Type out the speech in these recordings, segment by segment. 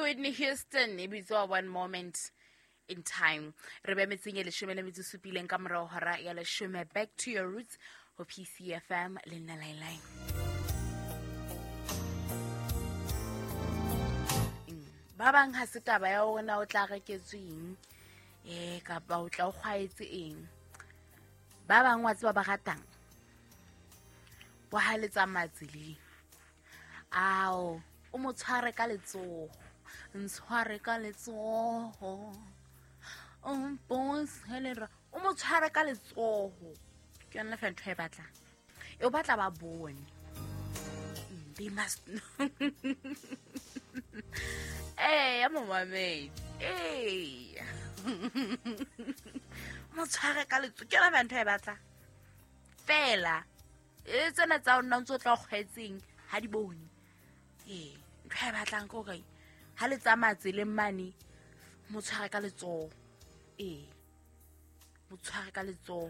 Whitney Houston e bitswa One Moment in Time. Re be metseng e 17 ka morao hora ya 10. Back to your roots ho PCFM le nna Lailai. Ba bang ha se taba ya hore na o tla reketsweng kapa o tla o kgwaetse eng. Ba bang wa tseba ba ratang bo ha le tsamaya tseleng. Ao, o mo tshware ka letsoho, ntshware ka letsoho, o mpontshe lera, o mo tshware ka letsoho. Ke yona fela ntho e batlang. E o batla ba bone. They must know. Ya momamedi. Mo tshware ka letsoho. Ke yona fela ntho e batlang. Fela e tsena tsa o nna ntse o tla o kgwaetseng ha di bone. Ntho e batlang ke hore ha le tsamaya tseleng mane, mo tshware ka letsoho. Mo tshware ka letsoho.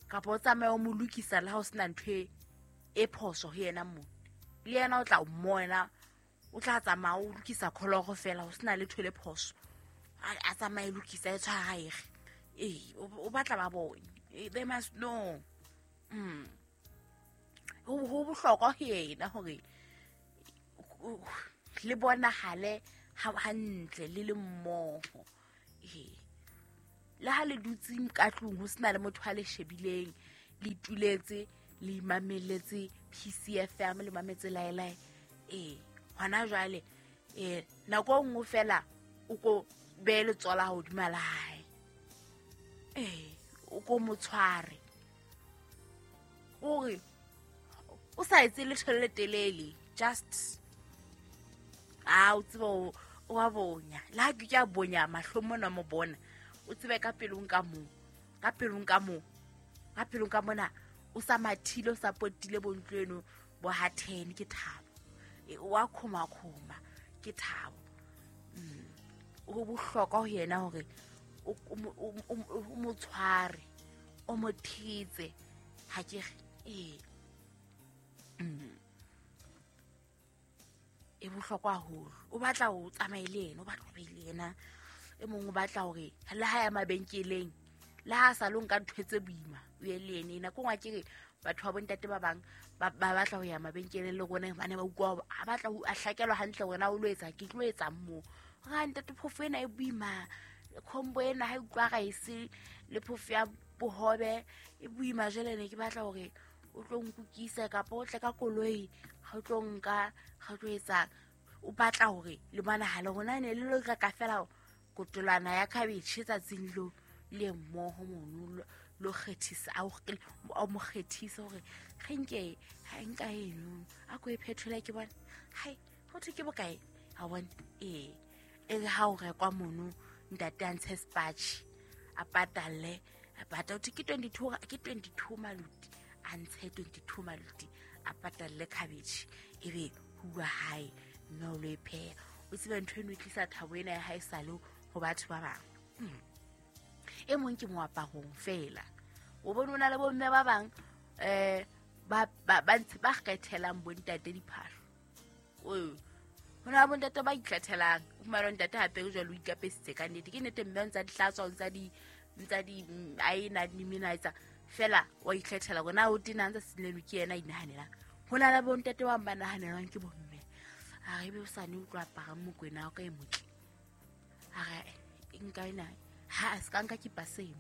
Kapa o tsamaye o mo lokisa le ha o sena ntho e phoso ho yena mona. Le yena o tla o mmona, o tla tsamaya o lokisa kholoro fela, ho sena letho le phoso. A tsamaye lokisa e tshwara ege. O batla ba bone. They must know. Ho bohlokwa ho yena hore le bonahale hantle le le mmoho. Le ha le dutse ka tlung ho sena le motho a le shebileng, le ituletse, le imameletse PCFM, le mametse Lailai. Hona jwale nako e nngwe fela o ko behe letsoho la hodima la hae. O ko mo tshware. Hore o sa etse letho le letelele, just o tsebe o wa bonya. Le ha ke a bonya mahlong mona mo bona, o tsebe ka pelong ka moo, ka pelong ka moo, ka pelong ka mona, o sa mathile, o sa potile bo ntlo eno bo ha 10 ke thabo. O a khoma khoma ke thabo. Ho bohlokwa ho yena hore o mo tshware, o mo thetse. Ha ke re E bohlokwa haholo. O batla ho tsamaye le yena, o batla ho be le yena. E mong o batla hore le ha ya mabenkeleng, le ha sa lo nka ntho tse boima, o ye le yena. Nako nngwe ke re batho ba bontate ba bang ba batla ho ya mabenkeleng le rona, hobane ba utlwa hore a batla ho a hlakelwa hantle hore na o lo etsa, ke tlo etsang moo. Hore ha ntate phofo ena e boima, combo ena ha e utlwa rice le phofo ya bohobe e boima, jwale ne ke batla hore o tlo nkukisa kapa o tle ka koloi, ha o tlo nka, ha o tlo etsang. O batla hore le bonahale hore ne le lo reka fela kotolwana ya cabbage tsatsing lo le mmoho mono, lo kgethisa, a mo kgethisa hore re nke ha nka eno a ko e phetola ke bone. Hai, ho thwe ke bokae? Ha bone. E re ha o rekwa mono, ntate a ntshe sepatjhe, a patalle, a pata, ho thwe ke 22, ke 22 maluti, a ntshe 22 maluti, a patalle cabbage, ebe ho bua hae, mme o lo e pheha. O tsebe ntho eno e tlisa thabo ena ya hae sale ho batho ba bang. E mong ke moaparong fela. O bone o na le bomme ba bang ba ntse ba kgethelang bontate diphahlo. Ho na le bontate ba ikgethelang. O fumana ntate hape jwale o ikapesitse ka nnete. Ke nnete mme o ntsa di hlatswa, o ntsa di aena, di mena etsa. Fela wa ikgethela hore na o tena ntse se ke yena a inahanelang. Ho na le bontate ba bang ba nahanelwang ke bomme. A re ebe o sa ne o tlo apara mokwena wa ka e motle. A re nka ena, ha a se ka nka ke paseng,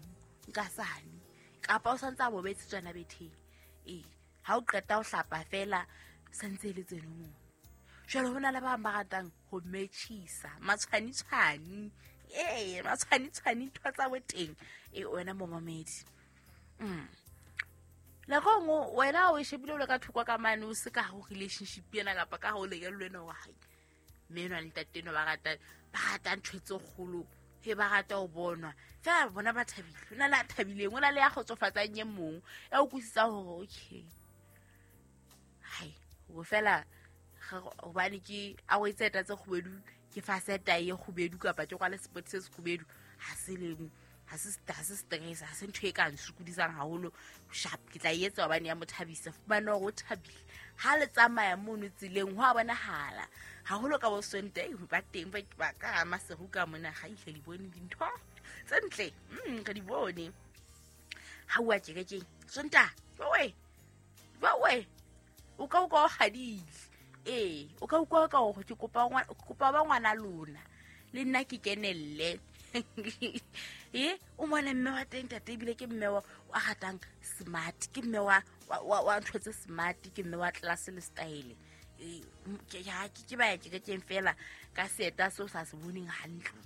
nka sane. Kapa o santse a bobetse tswana betheng. Ha o qeta ho hlapa fela santse le tseno moo. Jwale ho na le ba bang ba ratang ho metjhisa, matshwanitshwani. Matshwanitshwani ntho tsa boteng. Wena momamedi. Nako e nngwe wena o e shebile o le ka thoko ka mane, o se ka ho relationship ena kapa ka ho lenyalo lena wa hae. Mme enwa le ntate enwa ba rata ntho tse kgolo, he ba rata ho bonwa. Fela bona ba thabile. Ho na le a thabileng, ho na le ya kgotsofatsang e mong, ya o utlwisisang hore okay. Hai, ho fela hobane ke a o etsa tse kgubedu, ke fa seta e kgubedu kapa ke kwale spot se kgubedu, ha se le Ha se stress, ha se ntho e ka nsokodisang haholo. Sharp, ke tla etsa hobane ya mo thabisa. Fumana hore o thabile. Ha le tsamaya mono tseleng ho a bonahala. Haholo ka bo Sontaha ba teng ba ka Maseru ka mona ga ihle di bone dintho tse ntle. Re di bone. Ha o a kerekeng Sontaha, jowe. Jowe. O ka o hadile. Ee, o ka utlwa ka hore ke kopa ba ngwana lona. Le nna ke kenelle. O mona mme wa teng tate ebile ke mme wa ratang smart, ke mme wa ntho tse smart, ke mme wa class le style. Ke ba ya kerekeng fela ka seeta seo sa se boneng hantle.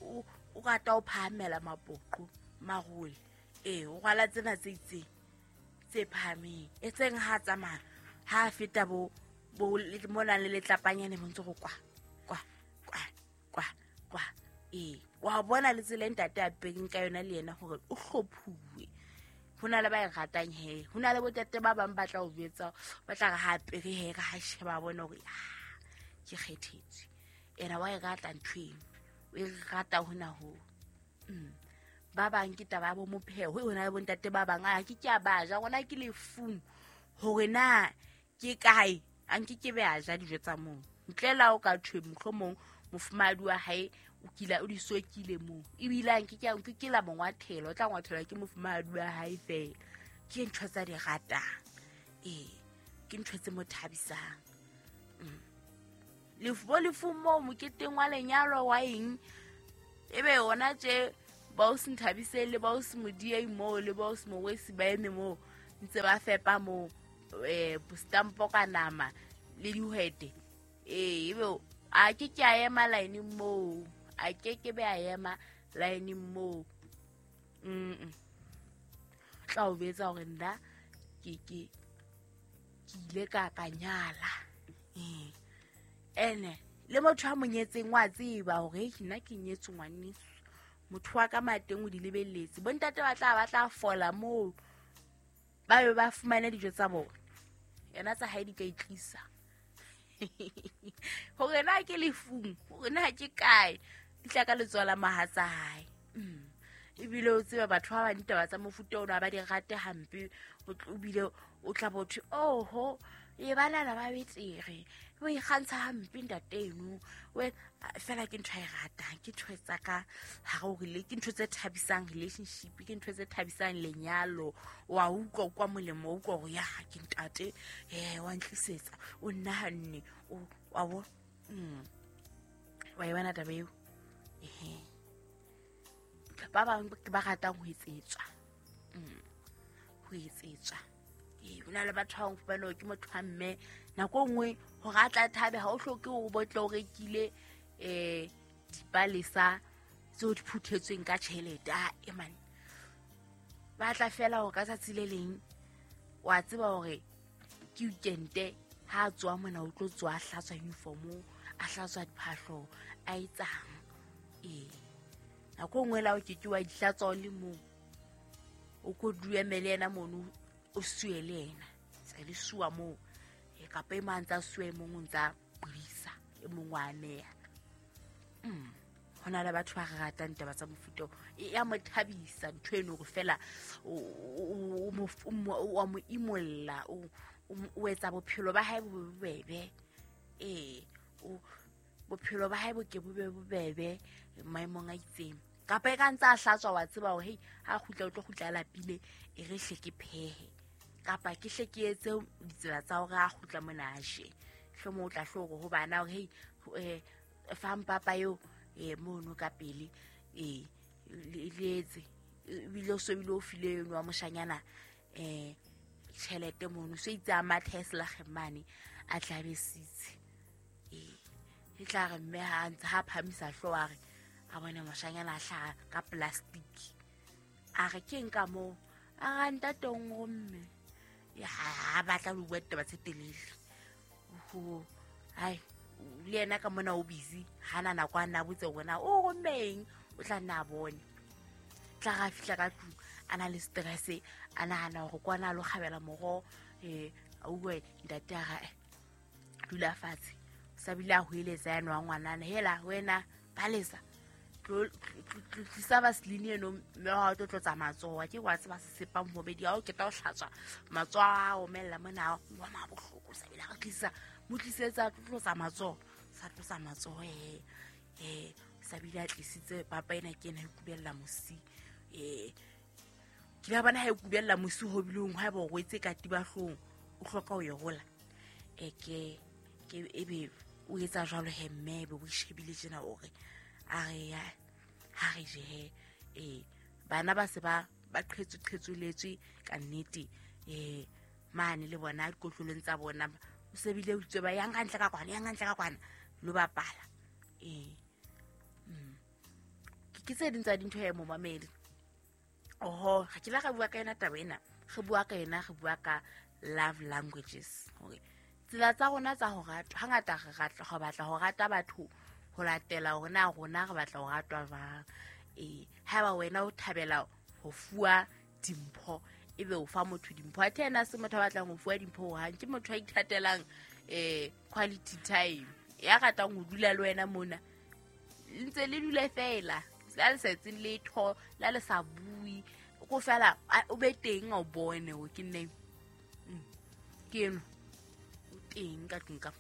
O rata ho phahamela mapoqo marole. O rwala tsena tse itseng tse phahameng. E tseng ha tsamaya ha feta bo mona le letlapanyane bo ntse go kwa kwa kwa kwa kwa. Wa bona le tsela ntate a pereng ka yona le yena hore o hlophuwe. Ho na le ba e ratang he, ho na le botate ba bang ba tla o jwetsa, ba tla re ha apere he, re ha sheba bona hore ke kgethetswe. Ena wa e rata ntho eno, o e rata hona ho. Ba bang ke taba ya bo mopheho, ho na le bontate ba bang a ke a ba ja, rona ke lefung hore na ke kae, a nke ke be a ja dijo tsa moo. Ntle la o ka thwe mohlomong mofumahadi wa hae o kila o di sokile moo, ebile a nke ke la mo ngwathela, o tla ngwathelwa ke mofumahadi wa hae fela. Ke ntho tsa di ratang. Ke ntho tse mo thabisang. Lefu moo moketeng wa lenyalo wa eng, ebe yona tje ba o se nthabise le ba o se modiei moo le ba o se mowesi ba eme moo ntse ba fepa moo stampo ka nama le dihwete. Ebe a ke ke a ema line moo, a ke ke be a ema line moo. Tla o betsa hore nna ke ile ka nyala. Ene le motho a monyetseng wa tseba hore nna ke nyetse ngwaneso. Motho wa ka mateng o di lebelletse. Bontate ba tla fola moo, ba be ba fumane dijo tsa bona. Yena tsa hae di ka itlisa. Hore na ke lefung, hore na ke kae, di tla ka letsoho la mohatsa hae. Ebile o tseba batho ba bang ditaba tsa mofuta ona ba di rate hampe, ebile o tla botho oho, e banana ba betere, o ikgantsha hampe ntate eno. Fela ke ntho e ratang, ke ntho tsa ka hare hore ke ntho tse thabisang relationship, ke ntho tse thabisang lenyalo. Wa utlwa kwa molemo, o utlwa hore ya ke ntate, wa ntlisetsa, o nnahanne, wa bo. Wa e bona taba eo. Ba bang ba ratang ho etsetswa. Ho etsetswa. Ho na le batho ba fumana ke motho wa mme nako nngwe hore a tla thabe, ha o hloke hore botle o rekile dipalesa tseo di phuthetsweng ka tjhelete. Man, ba tla fela hore ka tsatsi le leng wa tseba hore ke weekend, ha a tswa mona o tlo tswa a hlatswa uniform, a hlatswa diphahlo, a etsang. Nako nngwe la o ke ke wa di hlatswa o le mong, o ko duemele yena mono, o sue le yena, tse le sua moo. Kapa e mang tsa sue mong o ntsa buisa, e mong wa ameha. Ho na le batho ba ratang taba tsa mofuta e ya mo thabisa ntho eno, hore fela o mo imolla, o etsa bophelo ba hae bo bobebe. Bophelo ba hae bo ke bo be bobebe maemong a itseng. Kapa e ka ntse a hlatswa, wa tseba hore hei ha kgutla o tlo kgutla a lapile, e re hle ke phehe, kapa ke hle ke etse ditsela tsa hore a kgutla mona a je. Hlomong o tla hlo hore ho bana hore hei fang papa eo mono ka pele, le etse. Ebile o so bile o file eno wa moshanyana tjhelete mono, so itse a mathe selageng mane a tla be sitse. E tla re mme ha ntse ha phamisa hlooho a re a bone moshanyana a hlaha ka plastic, a re ke nka moo, a ra ntate o nromme. Ha batla ho bua ditaba tse telele. Hai, le yena ka mona o busy, ha na nako a nna botse hore na o rommeng, o tla nna a bone. Tla ra fihla ka tlung a na le stress, a nahana hore kwana a lo kgabela moroho, a utlwe ntate a ra dula fatshe. Sa bile a hoeletsa yane wa ngwanana, hela wena palesa. Tlisa vaseline eno mme wa tlo tlotsa matsoho ke wa tseba sesepang hobedi ha o keta ho hlatswa matsoho a omella mona wa ma bohloko sa bile re tlisa mo tlisetsa tlotsa matsoho sa tlotsa matsoho sa bile a tlisitse papa ena ke ena e kubella mosi ke la bona ha e kubella mosi ho bileng ha ba o rwetse katiba hlong o hloka ho e rola ke ebe o etsa jwalo he mme be o shebile tjena o re a re ya ha re je he bana ba se ba qhetswe ka nnete mane le bona dikotlolong tsa bona o sebile o tswe ba yang ka ntle ka kwana lo bapala ke tse ding tsa dintho ya momamedi oho ga ke la ga bua ka ena taba ena re bua ka ena re bua ka love languages hore tsela tsa rona tsa ho ratwa hangata re batla ho rata batho ho latela hore na rona re batla ho ratwa jwang haeba wena o thabela ho fuwa dimpho ebe o fa motho dimpho athe ena se motho a batlang ho fuwa dimpho hohang ke motho a ithatelang quality time ya ratang ho dula le wena mona ntse le dule fela la le sa etseng letho la le sa bue ko fela o be teng o bone o ke nne ke eno o teng ka tlung ka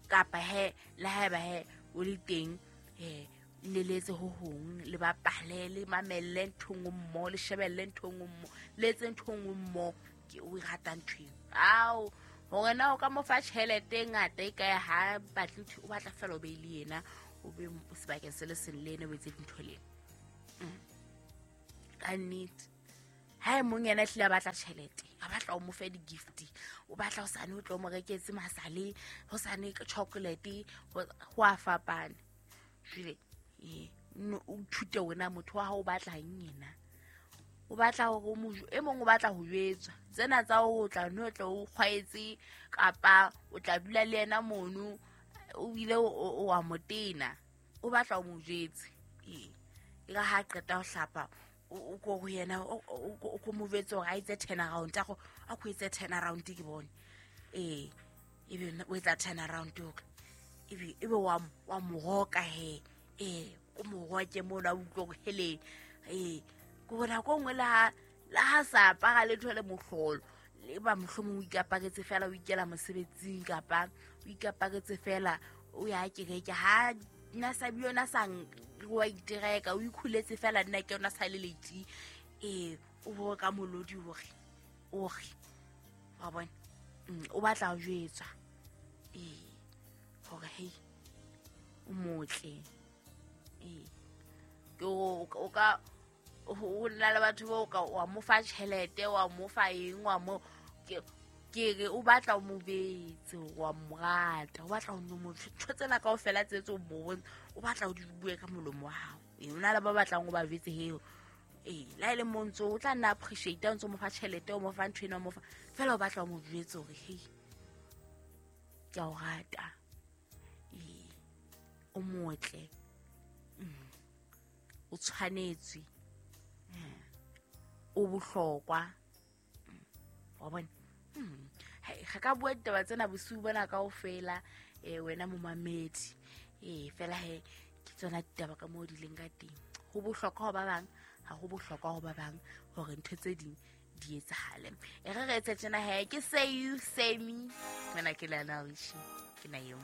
kapa he le haeba he o le teng le letse ho hong le bapale le mamelle ntho nngwe mmoho le shebelle ntho nngwe mmoho le etse ntho nngwe mmoho ke o e rata ntho eo ao hore na o ka mo fa tjhelete e ngata e kae ha batle ntho o batla fela o be le yena o be sebakeng se le seng le ena o etse dintho le ka nnete ha e mong yena hlile a batla tjhelete a batla o mo fe di-gift o batla ho sane o tlo mo reketse masale ho sane chocolate ho a fapana jwale o ithute wena motho wa hao o batla eng yena o batla hore e mong o batla ho jwetswa tsena tsa ho tla no tla o kgwaetse kapa o tla dula le yena mono o bile o wa motena o batla o mo jwetse e ka ha qeta ho hlapa o ko ho yena o ko mo jwetse hore a etse turn around a ko etse turn around ke bone ebe o etsa turn around o ebe wa mo roka he o mo roke mona o utlwe hore hele ke bona ko nngwe le ha sa apara letho le mohlolo le ba mohlomong o ikaparetse fela o ikela mosebetsing kapa o ikaparetse fela o ya kereke ha nna sa bile ona sa wa itereka o ikhuletse fela nna ke ona sa le late o bo ka molodi hore ore wa bona o batla ho jwetswa hore hei o motle ke o ka ho nna le batho ba o ka wa mo fa tjhelete wa mo fa eng wa mo ke re o batla o mo betse wa mo rata o batla o no mo ntho tsena kaofela tse tse o mo o batla o di bue ka molomo wa hao o na le ba batlang o ba jwetse heo la e le mo ntso o tla nna appreciate o ntso mo fa tjhelete o mo fa ntho ena o mo fa fela o batla o mo jwetse hore hei ke a o rata o motle o tshwanetswe o bohlokwa wa bona ga ka bua ditaba tsena bosiu bona kaofela wena momamedi fela he ke tsona ditaba ka moo di leng ka teng ho bohlokwa ho ba bang ha ho bohlokwa ho ba bang hore ntho tse ding di etsahale e re re etse tjena he ke say you say me wena ke Lionel Richie ke na eo.